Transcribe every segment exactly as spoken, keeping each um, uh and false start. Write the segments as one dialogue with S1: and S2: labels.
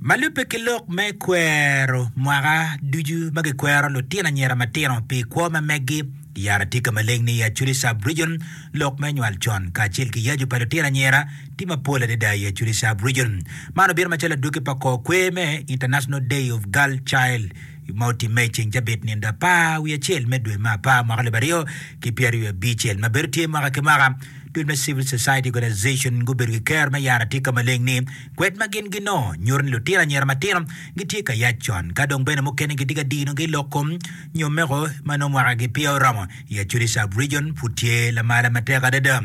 S1: Ma lubbe ki lok me kwero mwaka ducu ma gikwero lutino anyira matino pi kwo ma meggi yara tye ka maleng ni i Acholi Sub-Region lok me nywal con kacel ki yaco pa lutino anyira tye mapol adada i Acholi Sub-Region. Man obino macalo adwogi pa kor kwer me International Day of Girl Child ma otimme i ceng cabit nindo apar wiye acel me dwe me apar mwaka alip aryo ki pyeraryo abicel ma bedo tye mwaka ki mwaka dul me Civil Society Organization gubedo ki kero me yaro atika maleng ni kwed ma gin ginongo nyuto ni lutino anyira matino gitye ka yac con ka dong bene mukene gitye ka dinogi lok kom nyo meko ma nongo mwakagi peya oromo i Acholi Sub-Region pud tye lamala matek adada.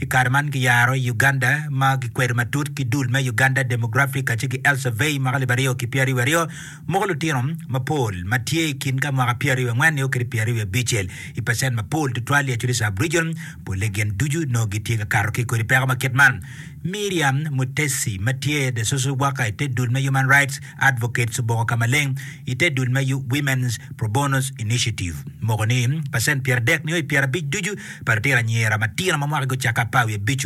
S1: I kare man kiyaro i Uganda ma gikwedo matut ki dul me Uganda Demographic kacel ki Health Survey mwaka alip aryo ki pyeraryo aryo moko lutino mapol ma tye i kin ka mwaka pyeraryo angwen nio kede pyeraryo abicel i pacent mapol tutwal i Acholi Sub-Region polle gin ducu nongo gitye ka kato ki i kodi peko ma kit man. Miriam Mutesi ma tye the social worker i te dul me Human Rights Advocates oboko ka maleng i te dul me Women's Pro Bono Initiative moko ni pacent pyeradek nio i pyerabic ducu pa lutino anyira matino ma mwakagi ocake apar wiye abic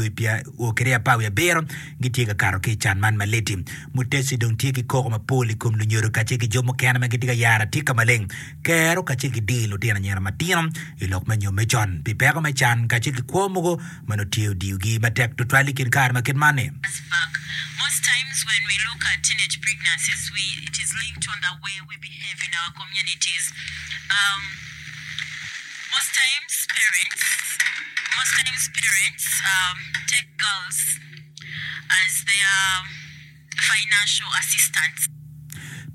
S1: o kede apar wiye abiro gitye ka kato ki i can man maliti. Mutesi dong tye ki koko mapol i kom lunyodo kacel ki jo mukene ma gitye ka yaro atika maleng kero kacel ki dii lutino anyira matino i lok me nyomme con pi peko me can kacel ki kwo mogo ma nongo tye odiyogi matek tutwal i kin kare ma kit man-ni.
S2: Back. Most times when we look at teenage pregnancies, we, it is linked on the way we behave in our communities. Um, most times parents, most times parents um, take girls as their financial assistants.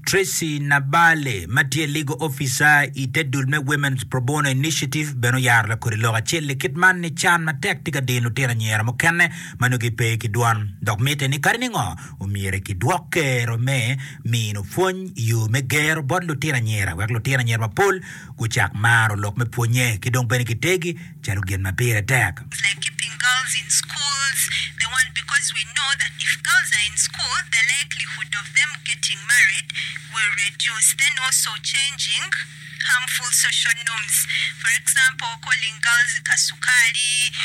S1: Tracy Nabale ma tye legal officer i te dul me Women's Pro Bono Initiative bene oyaro lakodi lok acel i kit man ni can matek tye ka dino lutino anyira mukene ma nongo gipe ki dwon dok mitte ni kadi ningo omyero kidwok kero me mino pwony i yo me gero bot lutino anyira wek lutino anyira mapol gucak maro lok me pwonye ki dong bene kitegi calo gin ma pire tek.
S2: Like keeping girls in schools, the one because we know that if girls are in school, the likelihood of them getting married will reduce. Then also changing harmful social norms. For example, calling girls kasukali.